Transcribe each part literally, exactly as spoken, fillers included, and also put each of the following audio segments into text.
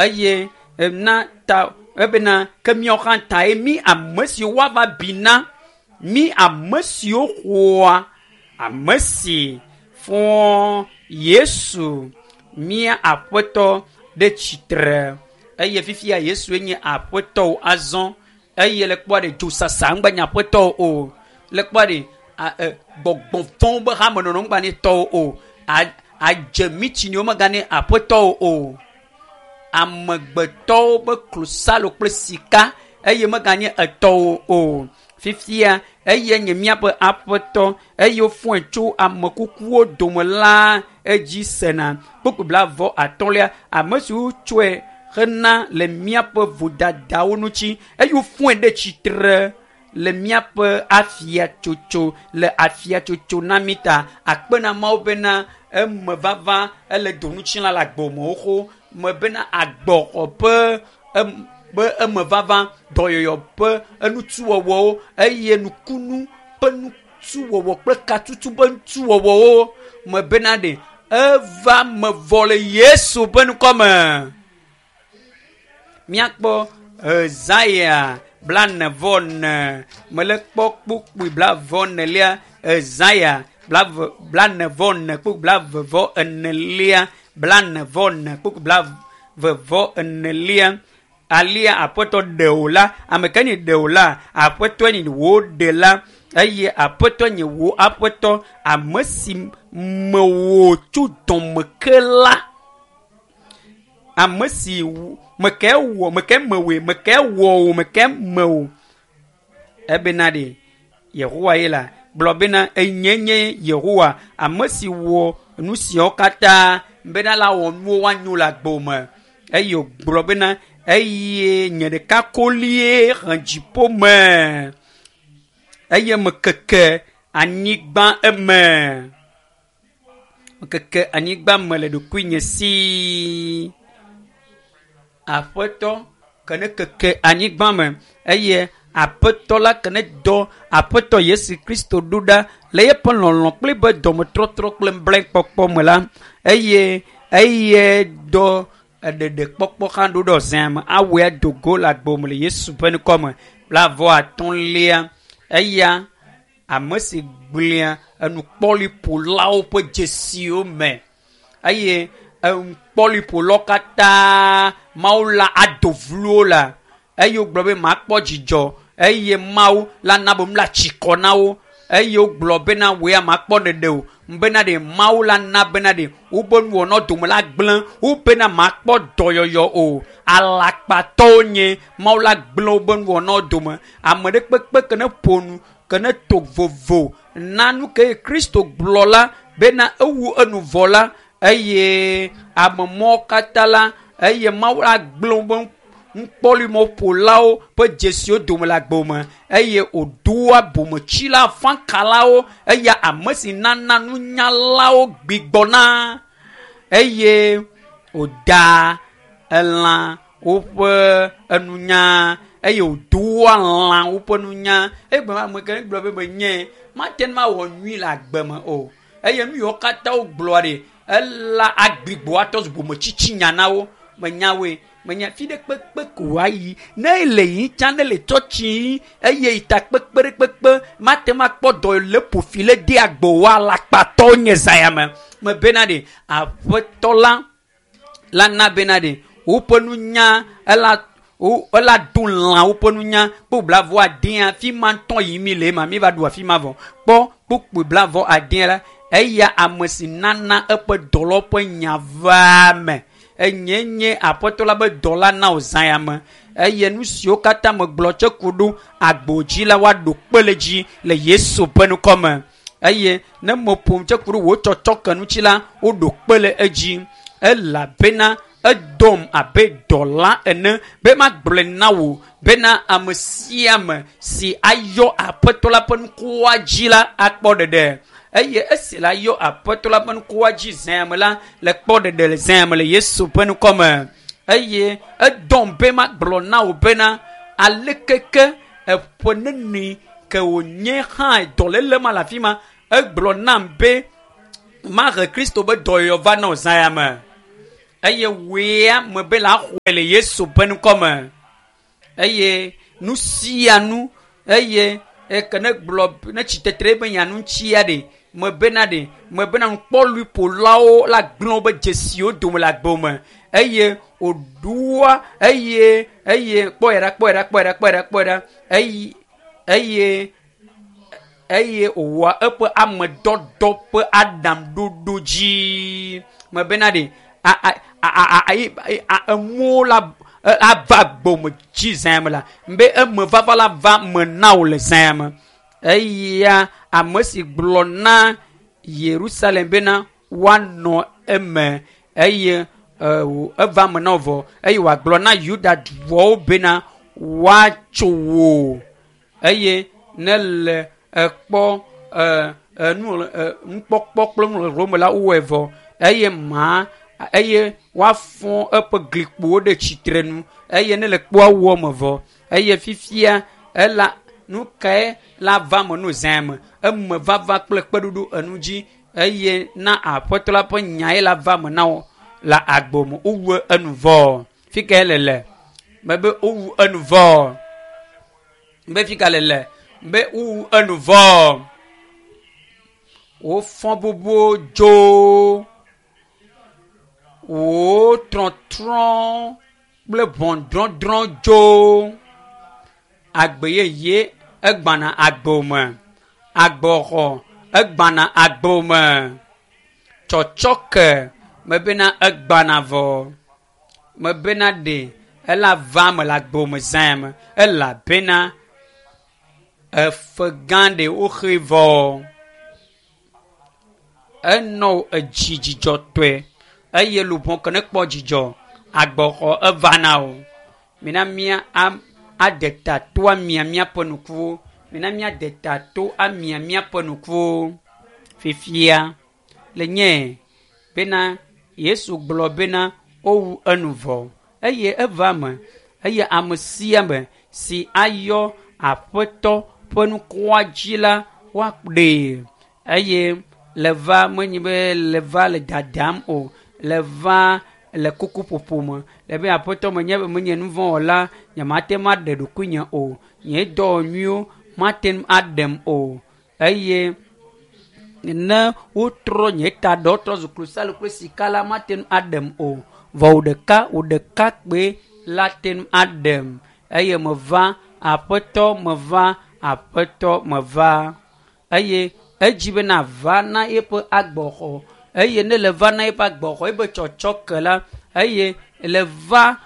Eye na ta ebena ke míawo hã tae mí ame siwo woava bi na mí ame siwo xɔa ame si fɔ Yesu mía aƒetɔ ɖe tsitre. Eye fifia Yesue nye aƒetɔ azɔ. Eye le kpɔa ɖe dzosasa ŋgba nye aƒetɔ o. Le kpɔa ɖe gbɔgbɔvɔ̃wo be hamenɔnɔ ŋgba nye tɔwo o. Adze mitsiniwo meganye aƒetɔwo o. Amegbetɔwo be klosalo kple sika eye meganye etɔwo o. Fifia eye nye míaƒe aƒetɔ eye wofɔe tso amekukuwo dome la edzi sena. Kpukpui blaeve atɔ̃lia ame siwo tsɔe hena le míaƒe vodadawo ŋuti eye wofɔe ɖe tsitre le míaƒe afiatsotso le afiatsotso na mí ta. Akpe na Mawu bena eme vava ele donutsila le agbomewo xo me bena agbɔxɔ ƒe em be eme vava dɔyɔyɔ ƒe enutuwɔwɔwo eye nukunu ƒe nutuwɔwɔ kple katutu ƒe nutuwɔwɔwo me bena ɖe eva me vɔ le Yesu ƒe ŋkɔme. Míakpɔ Ezaya blane vɔ ne mele kpɔ kpukpui blavɔ nelia Ezaya blave blane vɔ ne kpukpui blave vɔ enelia blane vɔ ne kpukpui blave vɔ enelia. Alia aƒetɔ ɖe wò la, ame ke nye ɖe wò la, aƒetɔe nye wò ɖe la, eye aƒetɔ nye wò aƒetɔ, ame si me wò tso dɔme ke la. Ame si me ke wɔ, me ke mewòe, me ke wɔ wò, me ke mewò. Ebena ɖe Yehowa ye la gblɔ bena enye nye Yehowa, ame si wɔ nu siawo katã bena la wɔ nuwo woanyo le agbo me. Eye wògblɔ bena eye nye ɖeka kolie he dziƒo me eye mekeke anyigba eme. Mekeke anyigba me le ɖokuinye si. Aƒetɔ ke ne keke anyigba me eye aƒetɔ la ke ne dɔ aƒetɔ Yesu Kristo ɖo ɖa le eƒe lɔlɔ̃ kple be dɔmetrɔtrɔ kple nublanuikpɔkpɔ me la eye eye dɔ eɖeɖekpɔkpɔ hã ɖo ɖe zã me awɔe ado go le agbo me le Yesu ƒe ŋkɔme. Blaeve atɔ̃lia eya ame si gblẽa enukpɔliƒolawo ƒe dzesiwo me eye enukpɔliƒolawo katã Mawu la ado vlo la eye wogblɔ be makpɔ dzidzɔ eye Mawu la na be nu la tsi kɔ na wo eye wogblɔ bena wòe makpɔ ɖeɖe o bena ɖe Mawu la na bena ɖe wobe nuwɔnawo dome la gblẽ wo bena makpɔ dɔyɔyɔ o. Alakpatɔwo nye Mawu la gblẽ wobe nuwɔnawo dome. Ame ɖe kpekpe ke ne ƒo nu ke ne to vovo na nu ke Kristo gblɔ la bena ewu enu vɔ la eye ame mɔwo katã la eye Mawu la gblẽ wobe nukpɔlimɔƒolawo ƒe dzesiwo dome le agbo me eye wòdoa bometsila afãkalawo eya ame si nana nunyalawo gbigbɔna eye wòdaa elã woƒe enunya eye wòdoa lã woƒe nunya. Egblɔ ame ke gblɔ be menye mate ŋu awɔ nyui le agbe me o eye nu yiwo katã wogblɔa ɖe ela agbigbɔ atɔ zu bometsitsi nya na wo menyawoe. Menya fi ɖe kpekpe ko wòayi ne le yi tsã ne le tsɔtsi eye yi ta kpekpe ɖe kpekpe mate ŋu akpɔ dɔ le ƒo fi le de agbo wa alakpatɔwo nye zã me. Me bena ɖe aƒetɔ la la na bena ɖe woƒe nunya ela wo ela do lã woƒe nunya kpɔ blavɔ adea fi ma ŋutɔ yi mi le ma mi va ɖu afi ma vɔ kpɔ kpukpui blavɔ adea la eya ame si nana eƒe dɔlɔ ƒe nya vaa me. Enye nye aƒetɔ la be dɔla na wò zã ya me eye nu siwo katã megblɔ tse ku ɖo agbo dzi la woaɖo kpe le dzi le Yesu ƒe ŋkɔme eye ne meƒom tse ku ɖo wò tsɔtsɔ ke ŋuti la woɖo kpe le edzi elabena edɔm abe dɔla ene be magblɔe na wò bena ame sia ame si ayɔ aƒetɔ la ƒe ŋkɔa dzi la akpɔ ɖeɖe eye esi la yɔ aƒetɔ la ƒe ŋkɔa dzi zã me la le kpɔ ɖeɖe le zã me le Yesu ƒe ŋkɔme eye edɔm be magblɔ na wò bena alekeke eƒe neni ke wònye hã dɔléle ma le afi ma egblɔ nam be mahe Kristo be dɔyɔyɔ va na wò zã ya me. Eye wòea me be la xɔe le Yesu ƒe ŋkɔme. Eye nu sia nu eye eke ne gblɔ ne tsitetre be nya ŋutia ɖe me bena ɖe me bena nukpɔluiƒolawo la gblẽ wobe dzesiwo dome le agbe me eye wòɖoa eye eye kpɔe ɖa kpɔe ɖa kpɔe ɖa kpɔe ɖa kpɔe ɖa eye eye eye wòwɔa eƒe amedɔdɔ ƒe aɖaŋuɖoɖo dzi me bena ɖe a a a a a a enuwo la ava gbɔme dzi zã me la be eme vava la va me na wò le zã me eya ame si gblɔ na Yerusalem bena woanɔ eme eye eva me na wo vɔ eye wòagblɔ na Yuda duawo bena woatso wò eye ne le ekpɔ enu nukpɔkpɔ kple nuxexlẽ me la wowɔe vɔ eye ma eye woafɔ eƒe glikpowo ɖe tsitre nu eye ne le kpoa wɔ me vɔ eye fifia ela nu kae la va me no zã me eme vava kple kpeɖuɖu enu dzi eye na aƒetɔ la ƒe nyae la va me na wo le agbo me wowu enu vɔ fi kae le le mebe wowu enu vɔ be fi ka le le be wowu enu vɔ wofɔ bubuwo dzo wò trɔtrɔ kple ʋɔnudɔdrɔ̃ dzo agbe yeye egbana agbo me agbɔxɔ egbana agbo me tsɔtsɔke mebena egbana vɔ mebena ɖe ela va me le agbo me zã me elabena efe gã ɖe woxe vɔ enɔ edzi dzidzɔtɔe eye luʋɔ ke ne kpɔ dzidzɔ agbɔxɔ eva na o mina mía am ade ta to amia míaƒe nukuwo mina míade ta to amia míaƒe nukuwo fifia le nye bena Yesu gblɔ bena wowu enu vɔ eye eva me eye ame sia ame si ayɔ aƒetɔ ƒe nukua dzi la woaɖee eye le va menye be le va le dadam o le va le kukuƒoƒo me le be aƒetɔ menye be menye nu vɔ̃ wɔla nyemate ŋu aɖe ɖokuinye o nye dɔ nyuiwo mate ŋu aɖem o eye ne wotrɔ nye ta ɖɔ trɔ zu klosalo kple sika la mate ŋu aɖem o vɔ wò ɖeka wò ɖeka kpoe la te ŋu aɖem eye meva aƒetɔ meva aƒetɔ meva eye edzi bena va na eƒe agbɔxɔ eye ne le va na eƒe agbɔxɔ ebe tsɔtsɔke la eye le va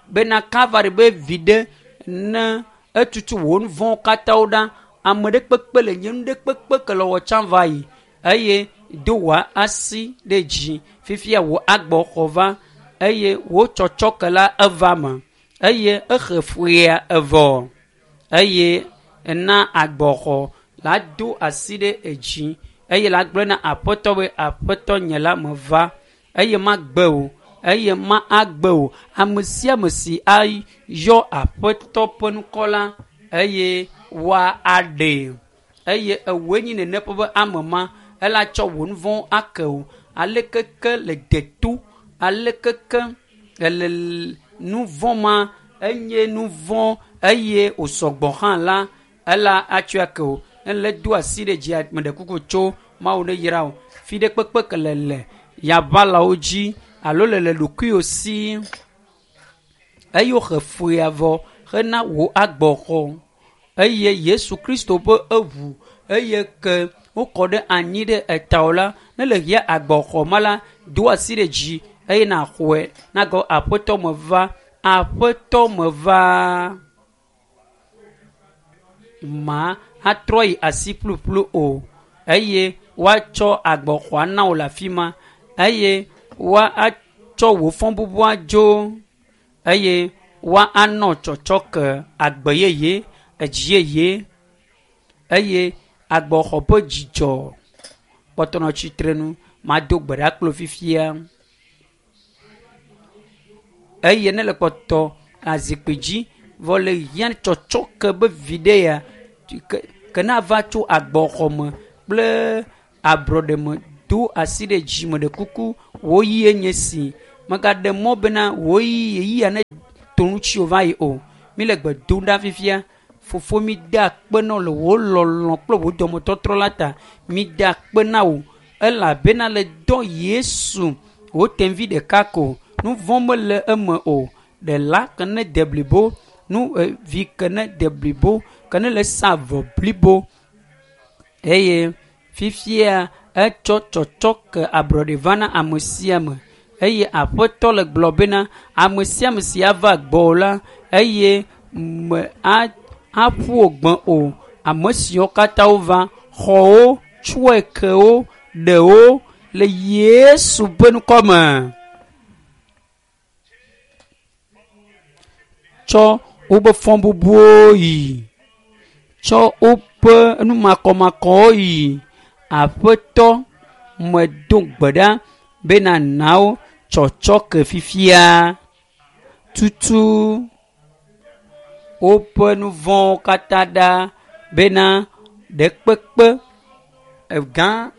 bena Kalvari be viɖe ne etutu wò nu vɔ̃wo katã wo ɖa ame ɖe kpekpe le nye nu ɖe kpekpe ke le wɔ tsã va yi eye do wò asi ɖe dzi fifia wò agbɔxɔ va eye wò tsɔtsɔke la eva me eye exe fuya evɔ eye ena agbɔxɔ la do asi ɖe edzi eye la gblɔ na aƒetɔ be aƒetɔ nye la meva eye magbe o eye ma agbe o ame sia ame si ayɔ aƒetɔ ƒe ŋkɔ la eye woa aɖee eye ewoe nyi nene ƒe be ame ma ela tsɔ wò nu vɔ̃wo ake o alekeke le deto alekeke ele nu vɔ̃ ma enye nu vɔ̃ eye wòsɔgbɔ hã la ela atsɔe ake o ele do asi ɖe dzi ame ɖe kuku tso Mawu ne yra o fi ɖe kpekpe ke le le yaʋalawo dzi alo le le ɖokuiwò si eye woxe fuya vɔ hena wò agbɔxɔ eye Yesu Kristo ƒe eʋu eye ke wokɔ ɖe anyi ɖe etawo la ne le hia agbɔxɔ ma la do asi ɖe dzi eye naxɔe nagɔ aƒetɔ meva aƒetɔ meva ma atrɔ yi asi ƒluƒlu o eye woatsɔ agbɔxɔa na wò le afi ma eye woatsɔ wò fɔbubua dzo eye woanɔ tsɔtsɔke agbe yeye edzi yeye eye agbɔxɔ ƒe dzidzɔ kpɔtɔ nɔ tsitre nu mado gbe ɖa kple fifia eye ne le kpɔtɔ azikpui dzi vɔ le hiã tsɔtsɔke be viɖe ya ke ke na va tso agbɔxɔ me kple ablɔɖe me do asi ɖe dzi me ɖe kuku wò yie nye si Megaɖe mɔ bena wò ɣeyiɣia ne to ŋuti va yi o. Mi le gbe dom ɖa fifia. Fofo mi da akpe na wò le wò lɔlɔ̃ kple wò dɔmetɔtrɔ la ta. Mi da akpe na wò elabena le dɔ Yesu wò tevi ɖeka ko. Nu vɔ̃ mele eme o. Ɖela ke ne de blibo, nu vi ke ne de blibo, ke ne le sa vɔ blibo eye fifia etsɔ tsɔtsɔ ke ablɔɖe va na ame sia ame eye aƒetɔ le gblɔ bena ame sia ame si ava gbɔwò la eye me a aƒu wò gbe o. Ame siwo katã wova xɔ wo, tsɔe ke wo, ɖe wo le Yesu ƒe ŋkɔ me. Tsɔ woƒe fɔbubuwo yi, tsɔ woƒe numakɔmakɔwo yi. Aƒetɔ medo gbe ɖa bena na wo tsɔtsɔ ke fifia. Tutu woƒe nu vɔ̃wo katã ɖa bena ɖekpekpe egã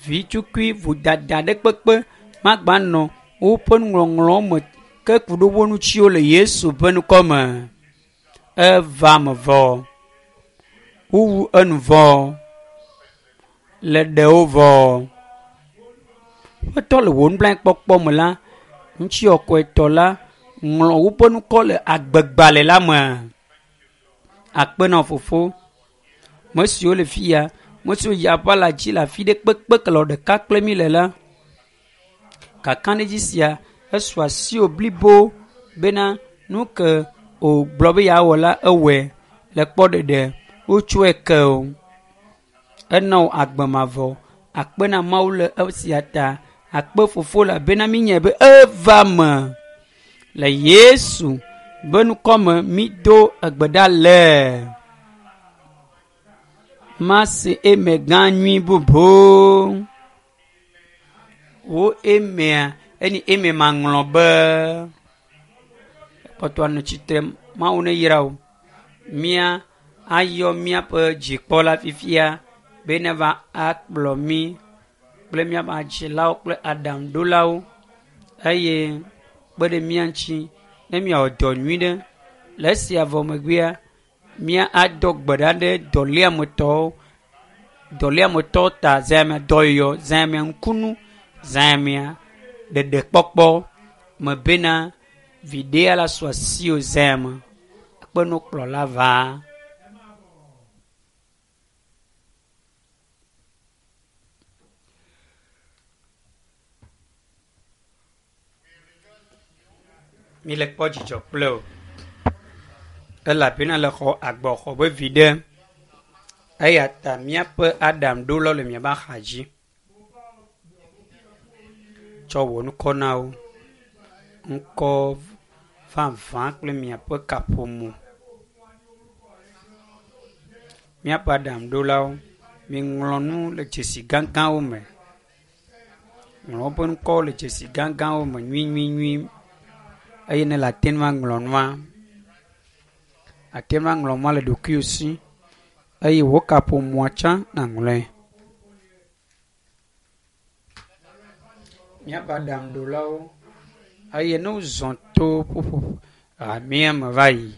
vitukui vodada ɖekpekpe magba nɔ woƒe nuŋɔŋlɔwo me ke ku ɖe wo ŋutiwo le Yesu ƒe ŋkɔ me. Eva me vɔ. Wowu enu vɔ. Le ɖewo vɔ. Ƒetɔ le wò nublanuikpɔkpɔ me la, ŋutikɔkɔetɔ la ŋlɔ woƒe ŋkɔ le agbegbalẽ la me. Akpe na fofo. Me siwo le fia, me siwo yi aʋa la dzi le afi ɖe kpekpe ke le ɖeka kple mi le la. Kakaɖedzi sia esu asiwò blibo bena nu ke wògblɔ be yeawɔ la ewɔe le kpɔɖeɖe wotsɔe ke o. Ena wò agbe mavɔ. Akpe na Mawu le esia ta. Akpe fofo elabena minyae be eva me. Le Yesu be ŋkɔ me mido egbe ɖa le. Mase eme gã nyui bubu. Wo emea eni eme maŋlɔ be. Kpɔtɔ anɔ tsitre Mawu ne yra wò. Mía ayɔ míaƒe dzikpɔla fifia be ne va akplɔ mí kple míaƒe adzilawo kple aɖaŋuɖolawo eye kpe ɖe mía ŋuti ne míawɔ dɔ nyui ɖe. Le esia vɔ megbea, mía adɔ gbe ɖa ɖe dɔléametɔwo, dɔléametɔwo ta zãmea dɔyɔyɔ, zãmea ŋkunu, zãmea ɖeɖekpɔkpɔ me bena viɖea la su asiwò zãme. Kpe nukplɔla va. Mi le kpɔ dzidzɔ kple o. Elabena le xɔ agbɔxɔ be viɖe. Eya ta míaƒe aɖaŋuɖolawo le miaƒe axa dzi. Tsɔ wò ŋkɔ na wo. Ŋkɔ vavã kple miaƒe kaƒomɔ. Míaƒe aɖaŋuɖolawo, miŋlɔ nu le dzesi gãgãwo me. Ŋlɔ woƒe ŋkɔwo le dzesi gãgãwo me nyuinyuinyui eye ne le ate ŋu aŋlɔ nua, ate ŋu aŋlɔ nua le ɖokuiwò si eye wò kaƒomɔa tsã nàŋlɔe. Míaƒe aɖaŋuɖolawo eye ne wozɔ to ƒuƒoƒo hamea me va yi.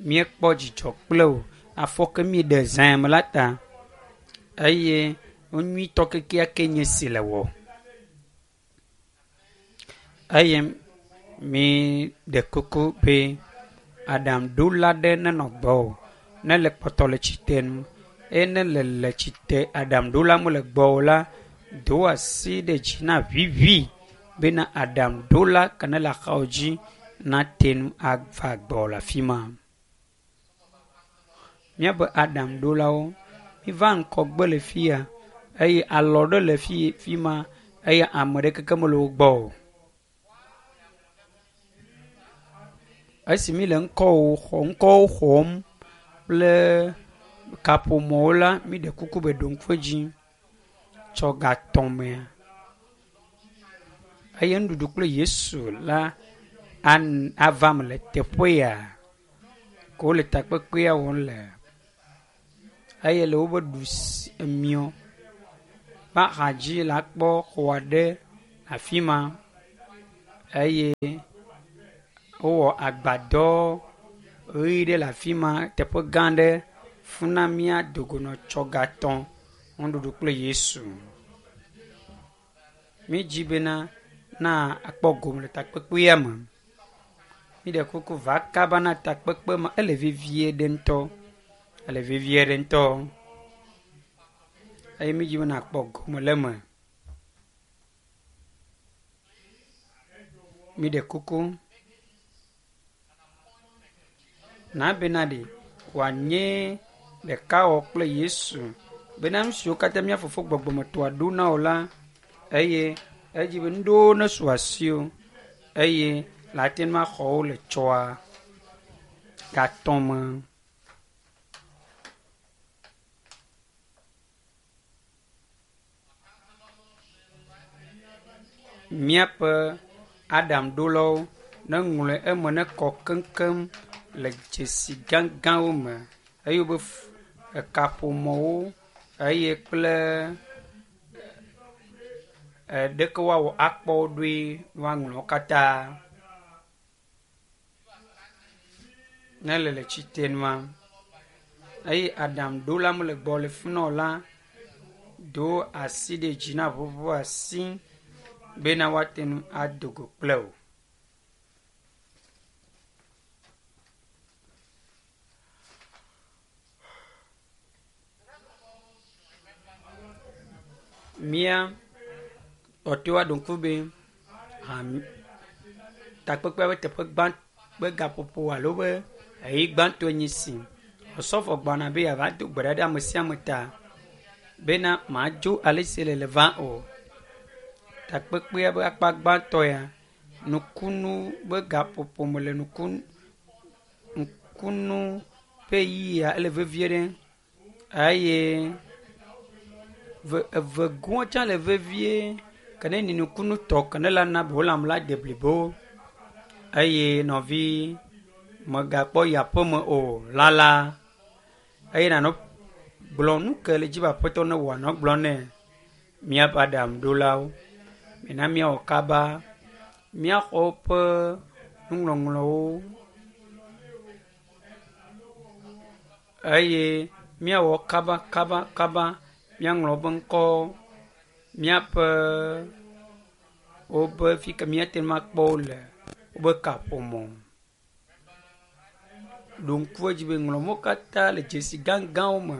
Míekpɔ dzidzɔ kple wò afɔ ke míeɖe zãe me la ta eye nu nyuitɔ kekeake nye si le wɔ. Eye mi ɖe kuku be aɖaŋuɖola ɖe nenɔ gbɔwò ne le kpɔtɔ le tsitre nu eye ne le le tsitre aɖaŋuɖola mele gbɔwò la, do asi ɖe dzi na ʋiʋi bena aɖaŋuɖola ke ne le axawò dzi nate ŋu ava gbɔwò le afi ma. Míaƒe aɖaŋuɖolawo, miva ŋgɔgbe le fia eye alɔ ɖe le fi fi ma eye ame ɖekeke mele wo gbɔ o. Esi mi le ŋkɔwo xɔ ŋkɔwo xɔm kple kaƒomɔwo la, mi ɖe kuku be ɖo ŋku edzi tsɔ gatɔ̃ mea eye nuɖuɖu kple Yesu la an ava me le teƒe ya ke wole takpekpea wɔm le eye le woƒe ɖusi miɔ ƒe axadzi la kpɔ xɔ aɖe Afi ma eye wowɔ agbadɔ ʋi ɖe le afi ma teƒe gã aɖe. Funa míadogonɔtsɔ gatɔ̃ nuɖuɖu kple Yesu. Mídzi bena na akpɔ gome le takpekpea me. Míɖe kuku va kaba na takpekpe ma ele vevie ɖe ŋutɔ. Ele vevie ɖe ŋutɔ. Eye mídzi be nakpɔ gome le eme. Míɖe kuku na bena ɖe wòanye ɖekawɔ kple Yesu bena nu siwo katã mía fofo gbɔgbɔmetɔa ɖo na wò la eye edzi be nuɖewo nesu asiwò eye le ate ŋu axɔ wo le tsɔa gatɔ̃ me. Míaƒe aɖaŋuɖolawo neŋlɔe eme nekɔ keŋkeŋ le dzesi gãgãwo me eye wobe ekaƒomɔwo eye kple ɖeke woawɔ akpɔ wo ɖoe woaŋlɔ wo katã. Ne le le tsite nua eye aɖaŋuɖola mele gbɔ le fi na o la, do asi ɖe dzi na ʋuʋu asi bena woate ŋu ado go kple wò. Mía tɔtɔewo aɖo ŋku be ham takpekpea ƒe teƒe gbã ƒe gaƒoƒo alo be ɣeyiɣi gbãtɔe nye esi. Osɔfo gbɔna be yeava do gbe ɖa ɖe ame sia ame ta bena madzo ale si le le va o. Takpekpea ƒe akpa gbãtɔ ya nukunu ƒe gaƒoƒo me le nukunu nukunu ƒe ɣeyiɣia ele vevie ɖe eye ve evegoa tsã le vevie ke ne nukunu tɔ ke ne la na be wò lãme la de blibo eye nɔvi megakpɔ yi aƒeme o lala eye nanɔ gblɔ nu ke le dzi be aƒetɔ ne wɔ nɔ gblɔ nɛ míaƒe aɖaŋuɖolawo. Mina míawɔ kaba míaxɔ woƒe nuŋɔŋlɔwo eye míawɔ kaba kaba kaba míaŋlɔ woƒe ŋkɔwo míaƒe woƒe fi ke míate ŋu akpɔ wo le woƒe kaƒomɔ. Ɖo ŋku edzi be ŋlɔ wo katã le dzesi gãgãwo me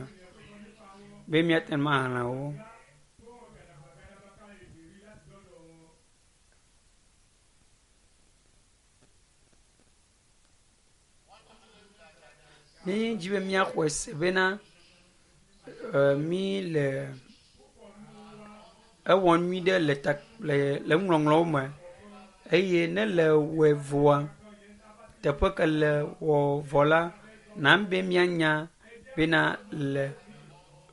be míate ŋu axlẽ wo. Mídzi be míaxɔe se bena e mí le ewɔ nyui ɖe le ta le le nuŋɔŋlɔwo me eye ne le wɔe vɔa teƒe ke le wɔ vɔ la na be míanya bena le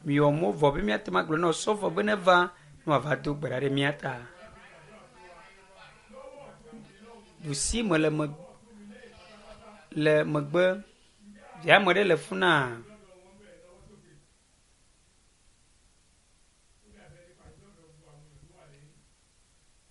miwɔ mo vɔ be míate ŋu agblɔ na osɔfo be neva ne wòava do gbe ɖa ɖe mía ta. Ɖusi me le me le megbe via ame ɖe le fi na.